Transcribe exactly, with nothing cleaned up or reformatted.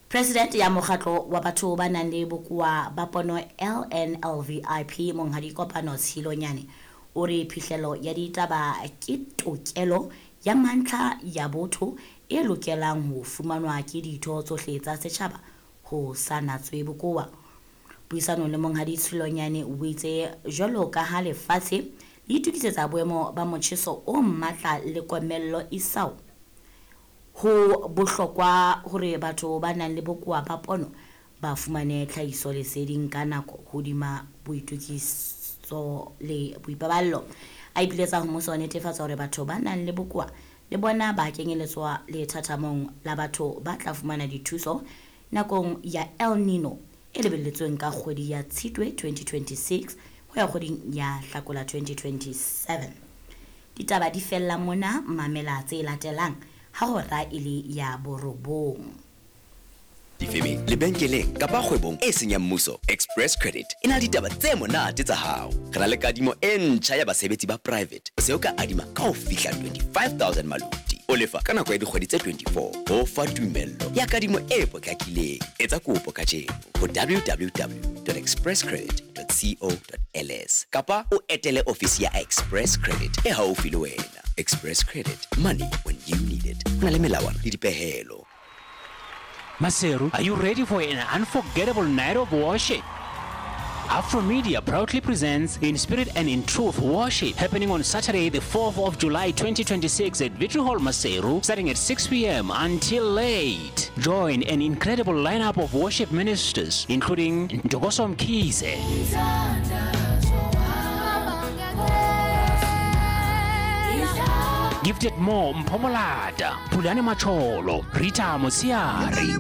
President ya mokgatlo wa batho ba nang le bokowa ba pono L N L V I P, Monghadi Kopano Tshilonyane, o re phihlelo ya ditaba ke tokelo ya mantlha ya botho e lokelang ho fumanwa ke ditho tsohle tsa setjhaba ho sa natswe bokowa. Puisanong le Monghadi Tshilonyane, o itse jwalo ka ha lefatshe le itokisetsa boemo ba motjheso o matla le komello isao, ho bohlokwa hore batho ba nang le bokowa ba pono ba fumane tlhahisoleseding ka nako hodima boitokiso le boipaballo. A ipiletsa ho mmuso ho netefatsa hore batho ba nang le bokowa le bona ba kenyeletswa lethathamong la batho ba tla fumana dithuso nakong ya El Nino e lebelletsweng ka kgwedi ya Tshitwe twenty twenty-six ho ya kgweding ya Hlakola twenty twenty-seven. Ditaba di fella mona. Mamela tse latelang ha hora e le ya borobong. Difemeng, lebenkeleng kapa kgwebong e seng ya mmuso, Express Credit e na le ditaba tse monate tsa hao. Re na le kadimo e ntjha ya basebetsi ba private. O se o ka adima ka ho fihla twenty-five thousand maluti, o lefa ka nako ya dikgwedi tse twenty-four, ho fa tumello ya kadimo e potlakileng. Etsa kopo kajeno ho W W W dot expresscredit dot co dot L S kapa o etele ofisi ya Express Credit e haufi le wena. Express Credit, money when you need it. Ho na le melawana le dipehelo. Maseru, are you ready for an unforgettable night of worship? Afro Media proudly presents In Spirit and in Truth Worship, happening on Saturday, the fourth of July twenty twenty-six at Victory Hall Maseru, starting at six p m until late. Join an incredible lineup of worship ministers, including Ntokozo Mkhize, Gifted Mo Mpomolata, Pulane Macholo, Rita Mosiari,